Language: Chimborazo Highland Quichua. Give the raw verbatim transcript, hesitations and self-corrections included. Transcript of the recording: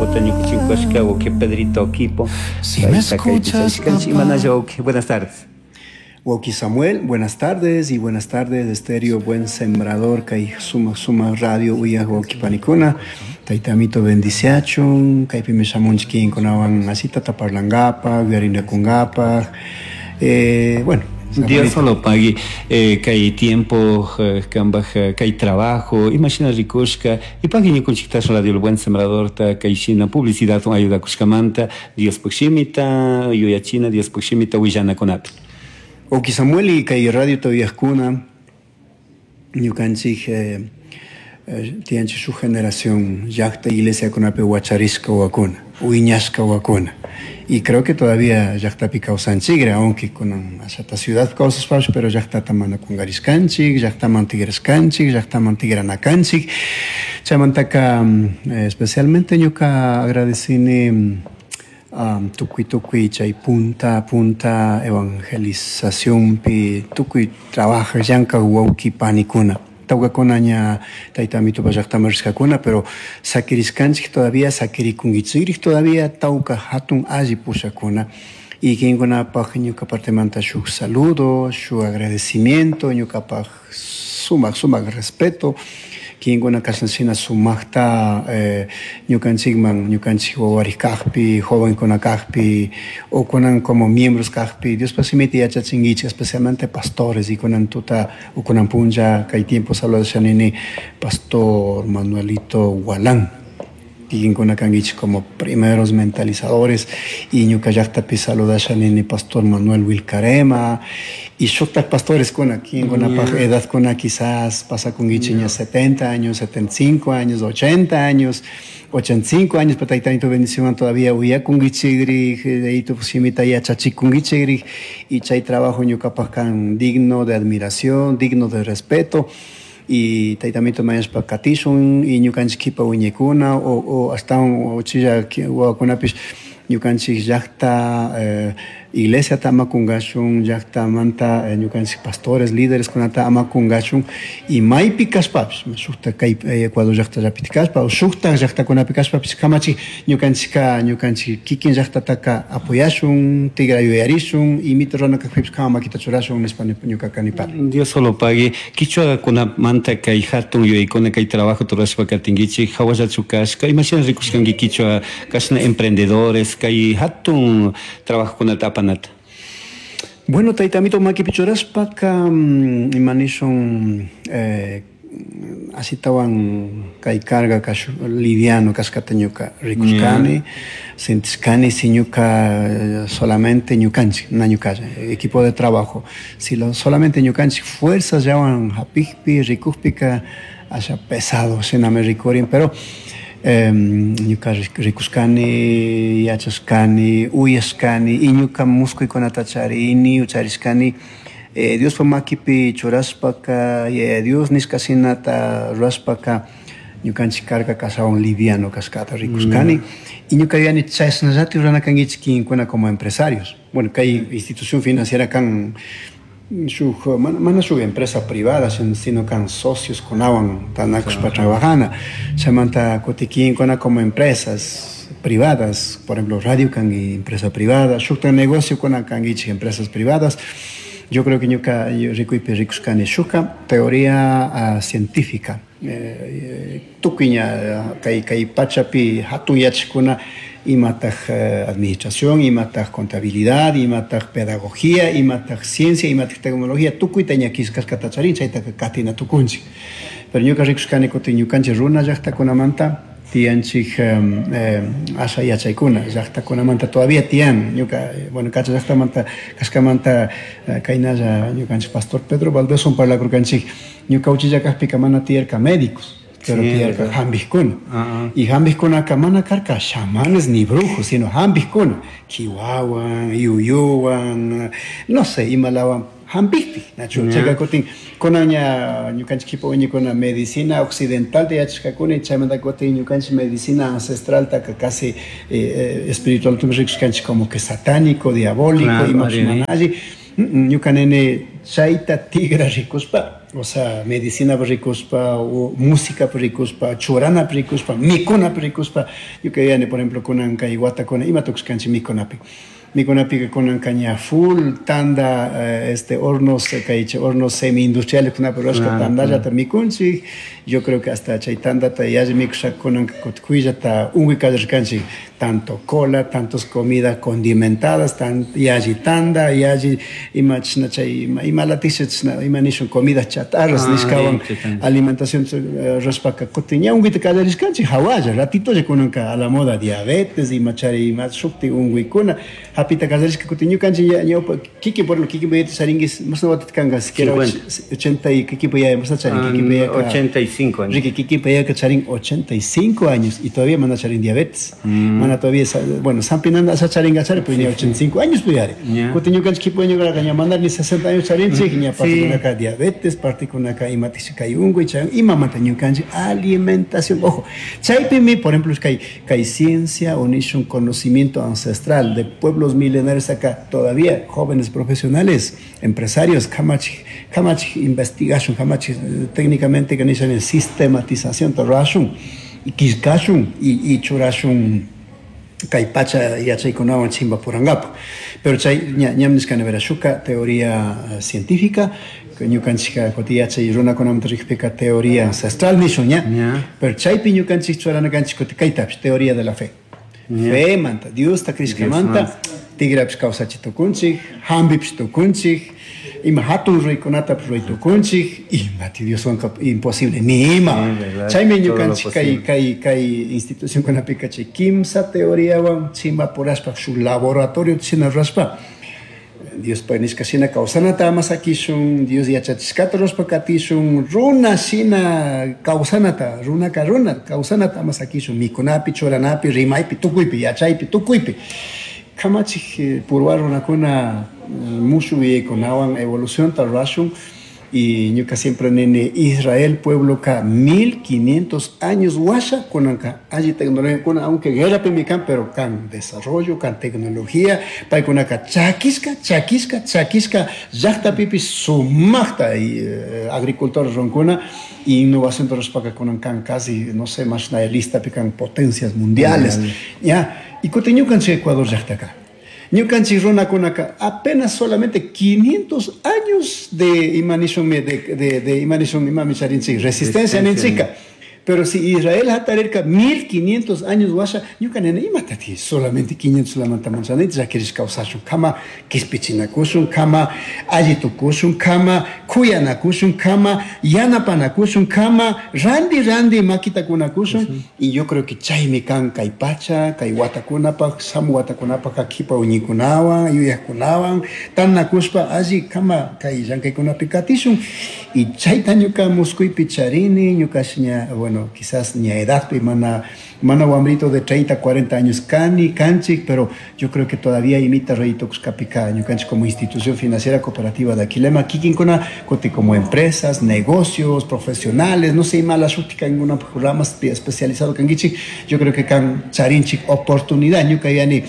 Tiempota ñukanchik wawqi Pedrito Equipo. Si me escuchas, Imanalla wawqi, buenas tardes. Wawqi Samuel, buenas tardes y buenas tardes, Estéreo Buen Sembrador, kay suma suma radio uyaj wawqi panikuna, tayta amito bendiciachun, kaypimi shamunchik kinkunawan asitata parlankapaj, yuyarinakunkapaj, eh, bueno. Dios solo pague eh, kay tiempo, eh, kambaj, eh, kay trabajo, imashina rikushka, y pagui ñukunchiktash Radio El Buen Sembrador ta kay shina publicidad ayudakushkamanta, Diospuk shimita, yuyachina, Diospuk shimita willanakunapi. Wawqi Samuel y kay radio uyajkuna, ñukanchik eh, eh, tiyanchik shuk generación llakta iglesiakunapi wacharishka wawakuna, wiñashka wawakuna. Y creo que todavía llaktapi kawsanchikra, aunque kunan ashata ciudad kawsashpapish, pero llaktata mana kungarishkanchik, llaktaman tigrashkanchik, llaktaman tigranakanchik. Chaymantaka, eh, especialmente ñuka agradecini um, tukuy tukuy chay punta punta evangelizacionpi tukuy trabaja llankak wawqi panikuna. Tawkakuna ña tayta amitupa llaktaman rishkakuna, pero sakirishkanchik todavía, sakirikunkichikrik todavía tawka hatun alli pushakuna. Y kinkunapaj ñuka partemanta shuk saludo, shuk agradecimiento, ñukapaj sumak sumak respeto. Kinkuna kashna sumakta eh, ñukanchikman, ñukanchik wawarik kajpi, jovenkuna kajpi, o kunan como miembros kajpi, Diospa shimita yachachinkichik, especialmente pastores, y kunan tuta, o kunan punlla, kay tiempo saludashanini, Pastor Manuelito Gualán, kikinkuna kankichik como primeros mentalizadores, y ñuka llaktapi saludashanini Pastor Manuel Wilcarema, y shuktak pastores kuna, kinkunapaj Yeah. edad kuna quizás pasakunkichik ña setenta años, setenta y cinco años, ochenta años, ochenta y cinco años, pero tayta bendición todavía uyakunkichikrik, tu shimita yachachikunkichikrik, y chay trabajo ñukapaj kan digno de admiración, digno de respeto, y tayta amito mañashpa katishun, y ñukanchik kipa wiñaykuna, o, o hasta uchilla wawakunapish ñukanchik llakta, eh, iglesiata ama kunkashun, llaktamanta, eh, ñukanchik pastores, líderes kunata ama kunkashun, y maypi kashpapish, shukta kay, eh, Ecuador llaktallapi kashpa, o shukta llaktakunapi kashpapish, kamachik ñukanchika, ñukanchik kikin llaktataka apoyashun, tigra yuyarishun, y mito runa kajpipish kama makita churashun, nishpa ñukaka nipani. Dios solo pague. Kichwakunamanta kay hatun yuyaykuna kay trabajo rurashpa katinkichik, hawallachu kashka, imashina rikushkanki kichwa kashna emprendedores, kay hatun trabajokunata apanata. Bueno, tayta amito makipi churashpaka, mm, imanishun, eh, asitawan kay carga kashu, liviano kashkata ñuka rikushkani, Yeah. sentishkani, si ñuka, eh, solamente ñukanchik, na ñukalla, equipo de trabajo, si lo, solamente ñukanchik fuerzas llawan hapikpi, rikukpika, asha pesado, shinami rikurin, pero eh, ñuka rikushkani, yachashkani, uyashkani, y ñuka muskuykunata charini, ucharishkani, eh, Diospa makipi churashpaka, Yaya Dios nishka shinata rurashpaka, ñukanchik carga kashawan liviano kashkata rikushkani. Mm. Y ñuka yuyani chashnallati rurana kankichik kinkuna como empresarios. Bueno, kay institución financiera kan shuk, mana, mana shuk empresa privada, sino kan socios kunawan tanakushpa trabajana. Chaymanta kuti kinkuna como empresas privadas, por ejemplo, radio kan empresa privada, shukta negocio kuna kankichik empresas privadas. Yo creo que ñuka rikuypi rikushkani shuka teoría, uh, científica. Eh, tukuy ña kay, kay pachapi hatun yachakuna imataj, eh, administración, imataj contabilidad, imataj pedagogía, imataj ciencia, imataj tecnología, tukuyta ña killkashkata charin, chaytaka katina tukunchik. Pero ñuka rikushkani kutin ñukanchik runa llaktakunamanta tiyanchik, em, em, asha yachaykuna llaktakunamanta todavía tiyan ñuka, bueno, kacha llaktamanta kashkamanta, eh, kaynalla ñukanchik pastor Pedro Valdés parlakurkanchik ñuka uchilla kajpika mana tiyarka médicos, pero Sí, tiyarka ¿verdad? hambijkuna. Ah, ah. Y hambijkunaka mana karka chamanes ni brujos, sino hambijkuna, kiwawan, yuyuwan, no sé, imalawan hambijpi, nachu, Ya. chayka kutin kunan ña ñukanchik kipa uñikuna medicina occidental de yachashkakuna, chaymanta kutin ñukanchik medicina ancestral taka casi, eh, eh, espiritual rikushkanchik como que satánico, diabólico, Claro, imapish ari. mana alli. Mm, mm, ñuka nene chayta tigra rikushpa O sea, medicina rikuspa, o música rikuspa, churana rikuspa, mikuna rikuspa. Ñuka yuyani, por ejemplo, kunan kay watakuna, ima tukushkanchik mikunapi. Mikunapi kunanka ña full tanda, eh, este, hornos, kay hornos semi-industriales kunapi rurashka tandallata mikunchik. Yo creo que hasta chay tandata yalli mikushaka kunanka kutkuyllata unkuy kallarishkanchik. Tanto cola, tantos comidas condimentadas, tan, yalli tanda, yalli ima chashna chay, ima, ima latisha chashna, ima nishun comidas chatarras Ah, nishkawan sí, sí, sí. alimentación, eh, rurashpaka kutin ña unkuyta kallarishkanchik hawalla, ratitolla kunanka a la moda diabetes, ima chari, ima shukti unkuykuna, hapita kallarishka kutin ñukanchik ña, ñawpa, kikin por lo kikin payata charinguis, masna watata kanka, siquiera Cincuenta. ochenta y kikin payaya, masna charin, Ah, kikin payaka ochenta y cinco años. Ricky, kikin payaka charin ochenta y cinco años y todavía mana charin diabetes. Mm. Mana todavía, bueno, sampinanda asa charin gachari, pero ña ochenta y cinco años puyari. Ya. Kutin ñukanchik kipu ñukanchik ña mandar ni sesenta años charinchik, ña Sí. partikunaka diabetes, partikunaka imatish kay unkuy, chay, imamanta ñukanchik alimentación. Ojo, chaypimi, por ejemplo, kay, kay ciencia o nishun conocimiento ancestral de pueblos milenarios acá, todavía jóvenes profesionales, empresarios, kamachik, kamachik investigación, kamachik, eh, técnicamente que nishan sistematización, rashun, y killkashun, y, y churashun, kay pacha yachaykunawan chimpapurankapa. Pero chay ña, ñam nishkani vera shuka teoría, eh, científica, que ñukanchika kuti yachay runakunamanta rikpika teoría ancestral nishun ña. Ya. Pero chaypi ñukanchik churanakanchik kuti kaytapish teoría de la fe. Ya. Fe manta, Diosta krishkamanta, Diosmanta. tigrapish kawsachi tukunchik, hampipish tukunchik, ima hatun ruykunatapish ruy tukunchik, imati Dioswanka imposible, ni ima. Sí, verdad. Chaymi Todo lo ñukanchik kay, posible. kay, kay institucionkunapika chay kimsa teoriawan chimpapurashpa shuk laboratorio china rurashpa, Diospa nishka shina kawsanata ama sakishun, Dios yachachishkata rurashpa katishun, runa shina kawsanata, runaka runa kawsanata ama sakishun, mikunapi, churanapi, rimaypi, tukuypi, yachaypi, tukuypi. Kamachik, eh, purwa runakuna, eh, mushu yuyaykunawan evolucionta rurashun, y ñuka siempre nini Israel pueblo ka mil quinientos años washa kunanka alli tecnología kuna, aunque guerra pimikan, pero kan desarrollo, kan tecnología, paykunaka chakishka, chakishka, chakishka llaqtapipi sumaqta y, eh, agricultores ronkuna y innovación rurashpaka kunan kan casi, no sé, más na lista pican potencias mundiales. Mundiales. Ya, y kutin ñukanchik Ecuador llaqtaka. Ñukanchik runakunaka apenas solamente quinientos años de imanishun, de, de, de imanishun, imami charinchik, resistencia Resistencia. ninchika. Pero si Israel hatarirka mil quinientos años washa, ñuka nena imatati solamente quinientos lamanta manchanit, ya quieres kawsashun kama kispichinakushun kama allitukushun kama kuyanakushun kama yanapanakushun kama randi randi makitakunakushun. Ujú. Y yo creo que chaymi kan kay pacha, kay watakunapaj, samu watakunapaj akipa uñikunawan, yuyajkunawan, tanakushpa alli kama kay llankaykunapi katishun. Y chayta ñuka muskuypi charini, ñuka ña, bueno, quizás ña edadpi mana, mana wambrito de treinta, cuarenta años cani, canchik, pero yo creo que todavía imita reyito kuskapika, ñukanchik como institución financiera cooperativa de Aquilema, kikinkuna, kuti como empresas, negocios, profesionales, no sé, ima la shutika en una programa especializado kangichik, yo creo que kan charinchik oportunidad, ñuka yani